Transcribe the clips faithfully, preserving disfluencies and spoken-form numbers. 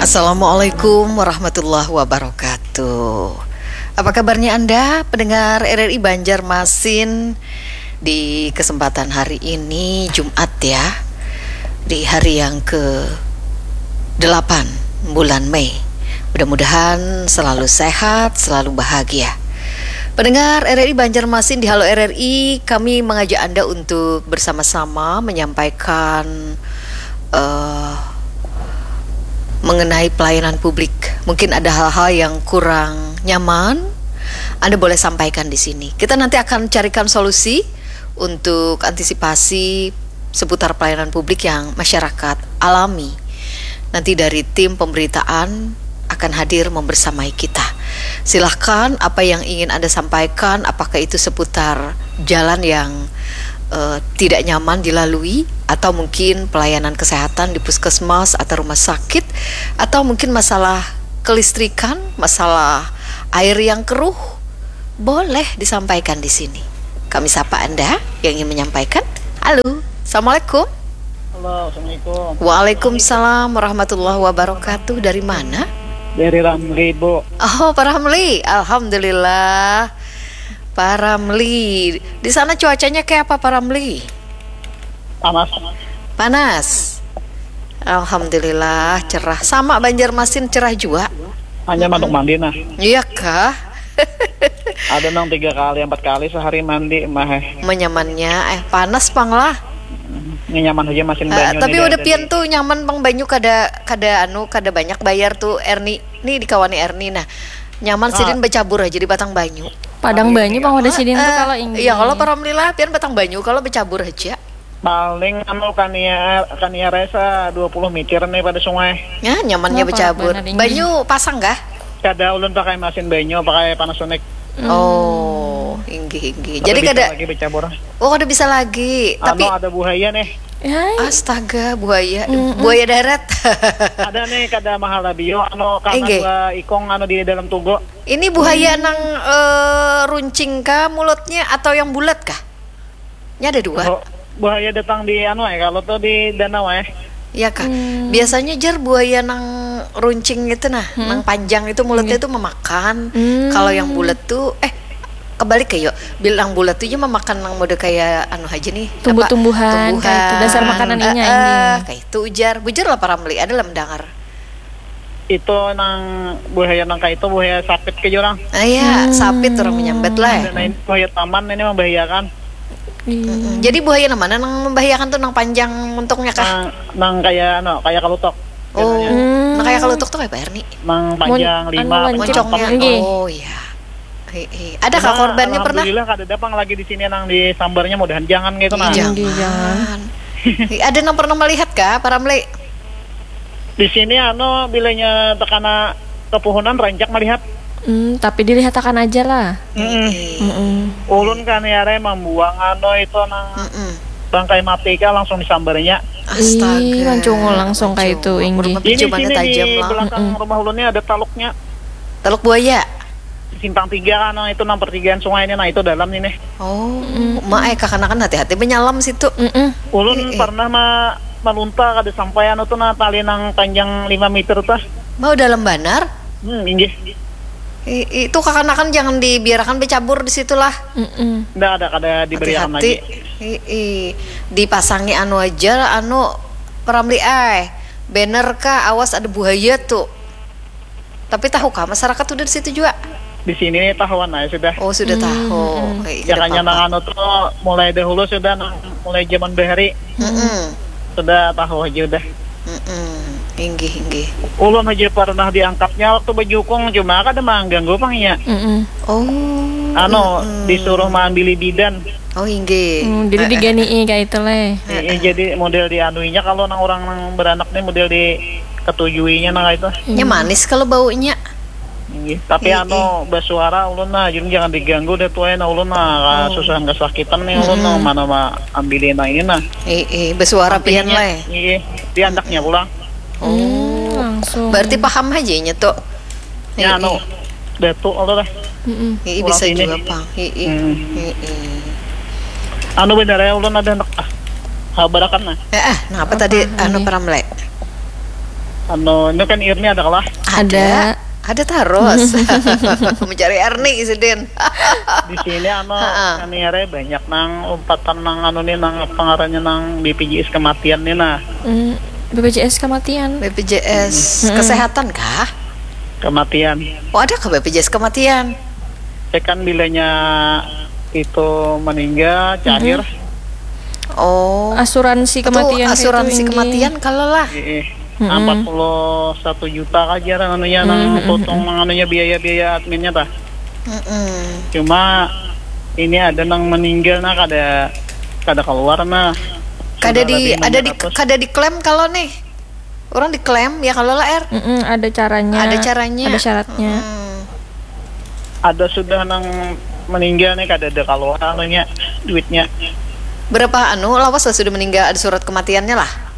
Assalamualaikum warahmatullahi wabarakatuh. Apa kabarnya Anda, pendengar R R I Banjarmasin? Di kesempatan hari ini, Jumat ya, di hari yang ke delapan bulan Mei. Mudah-mudahan selalu sehat, selalu bahagia. Pendengar R R I Banjarmasin di Halo R R I, kami mengajak Anda untuk bersama-sama menyampaikan eh, mengenai pelayanan publik. Mungkin ada hal-hal yang kurang nyaman, Anda boleh sampaikan di sini. Kita nanti akan carikan solusi untuk antisipasi seputar pelayanan publik yang masyarakat alami. Nanti dari tim pemberitaan akan hadir membersamai kita. Silahkan, apa yang ingin Anda sampaikan, apakah itu seputar jalan yang eh, tidak nyaman dilalui, atau mungkin pelayanan kesehatan di puskesmas atau rumah sakit, atau mungkin masalah kelistrikan, masalah air yang keruh, boleh disampaikan di sini. Kami sapa Anda yang ingin menyampaikan. Halo, Assalamualaikum. Halo, Assalamualaikum. Waalaikumsalam warahmatullahi wabarakatuh. Dari mana? Dari Ramli, Bu. Oh, Pak Ramli. Alhamdulillah. Pak Ramli. Di sana cuacanya kayak apa, Pak Ramli? Panas. Panas. Alhamdulillah, cerah. Sama Banjarmasin, cerah juga. Hanya manuk mandi nah. Iya kah? Ada nang tiga kali, empat kali sehari mandi mah. Eh. Menyamannya, eh, panas pang lah. Ini nyaman aja masin Eh, banyu. tapi Nih, udah dari pian tadi. Tuh nyaman pang banyu, kada kada anu, kada banyak bayar tuh, Erni. Nih, dikawani Erni nah. Nyaman Ah. Sidin bercabur aja di batang banyu. Padang banyu pang wadah sidin tuh Eh, kalau ini. Iya, kalau Pak Ramli lah, pian batang banyu, kalau bercabur aja. Paling anu kania kania resa dua puluh meter nih pada sungai. Ya, nyamannya Wah, bercabur. parah banget ini. Banyu pasang kah? Kada, ulun pakai masin banyu, pakai Panasonic. Oh, inggih inggih. Kada Jadi bisa kada. Lagi bercabur. Oh, kada bisa lagi. Tapi Anu, ada buaya nih. Hai. Astaga, buaya, buaya darat. Ada nih, kada mahala bio, anu, karena Inggih. Dua ikong anu di dalam tugo. Ini buaya nang eh, runcing kah mulutnya atau yang bulat kah? Ini ada dua. Bu- Buaya datang di anu eh, kalau tuh di danau eh. Ya kah? Biasanya jar buaya nang runcing itu nah, nang panjang itu mulutnya itu memakan. Kalau yang bulat tuh eh kebalik kayak, bilang bulat tuh aja memakan nang model kayak anu aja nih, apa, Tumbuh-tumbuhan, kayak itu, dasar makanan Eh, inya, eh, inggih. Kayak itu ujar, bujur lah Pak Ramli, ada lah mendengar. Itu nang buaya nang kayak itu, buaya sapit ke jurang. Ah ya, sapit orang menyambat lah. Dan ini buaya taman ini membahayakan. Iya. Mm-mm. Jadi buaya nang mana nang membahayakan tuh, nang panjang untungnya kah? Nang, nang kayak anu, kayak kalutok. Oh, nah kayak kalutok tuh kayak apa Erni? Nang panjang Mun- lima, anu, panjang moncongnya. empat. Moncongnya. Nggih. Oh iya. Iya, iya. Ada kah korbannya pernah? Alhamdulillah kada ada pang lagi di sini nang disambarnya, mudahan jangan gitu nah. Iya. Inggih, jangan. Iya, ada nang pernah melihat kah, Pak Ramli? Di sini anu, bilanya tekana kepuhunan rancak melihat. Hmm, tapi dilihatakan aja lah. Mm-mm. Mm-mm. Ulun kan ya re membuang anu itu nang Mm-mm. bangkai mati kah langsung disambarnya. Astaga. Ih, mancungul langsung kayak itu, Mancungul. inggih. Berapa Ini cumannya sini di tajam lah. Belakang rumah ulun ini ada taluknya. Teluk buaya. Simpang tiga kan, nah, itu nang pertigaan sungai ini, nah itu dalam ini. Oh, mak eh kakanakan hati-hati menyalam situ. Mm-mm. Ulun Eh, eh. Pernah ma malunta kada sampai anu tuh nah, tali nang panjang lima meter tuh. Mau dalam banar. Hmm, inggih. I- itu kakanakan jangan dibiarkan bercabur di situlah. Mm-mm. Ndak ada, kada diberikan Hati-hati. Lagi. I- i. Dipasangi anu aja, anu Pak Ramli ai. Banner kah, awas ada buaya tuh. Tapi tahu kah masyarakat udah di situ juga? Di sini tahuan aja sudah. Oh, sudah tahu. Eh, Ya kada kan yang apa-apa. Anu tuh mulai dahulu sudah, nang mulai zaman bahari Mm-mm. Sudah tahu aja udah. Mm-mm. Inggih, inggih. Ulun aja pernah diangkatnya waktu bejukung, cuma kada mengganggu pang iya. Mm-mm. Oh. Anu, disuruh maambili bidan. Oh, inggih. Hmm, jadi diganii kayak itu leh. Eh, eh, jadi model dianuinya kalau nang orang nang beranak nih model diketujuinya nah itu. Nya manis kalau baunya. Inggih. Tapi anu, bersuara ulun nah, jadi jangan diganggu deh tuh, nah ulun nah susah, nggak sakitan nih ulun nah, mana mah ambilin nah ini nah. Eh, eh, bersuara pian leh. Iya, dia andaknya pulang. Oh. Langsung. Berarti paham aja nya tuh. Ya anu, datu atau dah. Mm-mm. Iya, bisa Ulah juga ini. Pang. Iya. Hmm. Iya. Anu bener ya, ulun ada anak ah. Habarakan nah. Eh, eh, nah apa tadi anu Pak Ramli? Anu, ini kan Irni ada kalah? Ada. Ada tarus. Mencari Erni sidin. Di sini anu, kami area banyak nang umpatan nang anu nih, nang apa ngarannya, nang B P J S kematian nih nah. Hmm, B P J S kematian. B P J S kesehatan kah? Kematian. Oh, ada ke B P J S kematian? Saya kan bilanya itu meninggal, cair. Oh. Asuransi kematian. Asuransi kematian kalau lah. Iya. Empat puluh satu juta aja lah anunya, nang potong anunya, biaya-biaya adminnya tah. Cuma ini ada nang meninggal nah, kada kada keluar nah. Kada di ada di kada diklaim kalau nih. Orang diklaim ya kalau lah, Er. Mm-mm, ada caranya. Ada caranya. Ada syaratnya. Hmm. Ada sudah nang meninggal nih, kada ada keluar anunya, duitnya. Berapa anu lawas lah sudah meninggal, ada surat kematiannya lah?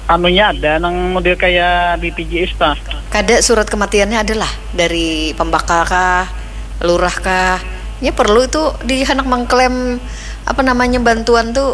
Anunya ada nang model kayak B P J S tah. Kada, surat kematiannya adalah dari pembakal kah, lurah kah? Ya perlu itu di anak mengklaim apa namanya, bantuan tuh